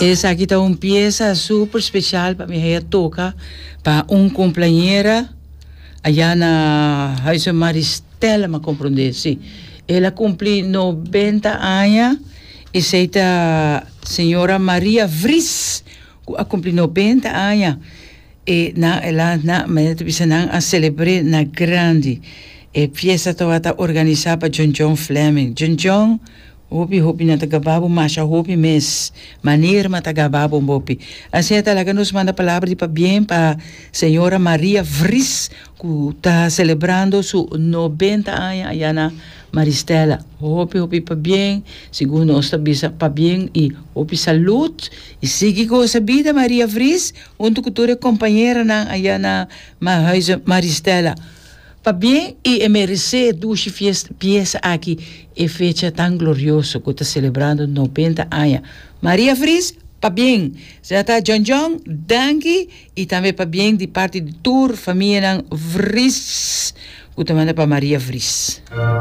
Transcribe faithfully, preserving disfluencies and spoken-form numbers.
Esaki ta un piesa super spesial pa mi toka pa un kompañera aya na Huize Maristella, m'a komprondé, sí. El a kumpli nobenta aña i esei ta señora Maria Vries, a kumpli nobenta aña. E na ela na bisa nan a selebrá na grandi. E fiesta tabata organisá pa John John Fleming. John John, hopi hopi nan ta gaba bo masha hopi mes. Manera mi ta gaba bo hopi. Asina ta laga nos manda palabra di pabien pa señora Maria Vries, ku ta selebrando su nobenta aña aya na Maristella. Hopi hopi pabien, segun nos ta bisa pabien i hopi salú i sigui gosa bida, Maria Vries, huntu ku tur kompañeronan aya na Huize Maristella. Pabien i e meresé dushi fiesta piesa aki e fecha tan glorioso ku ta selebrando nobenta aña. Maria Vries, pabien. Zeta John John, danki i tambe pabien di parti di tur famianan Vries. Ku ta manda pa Maria Vries.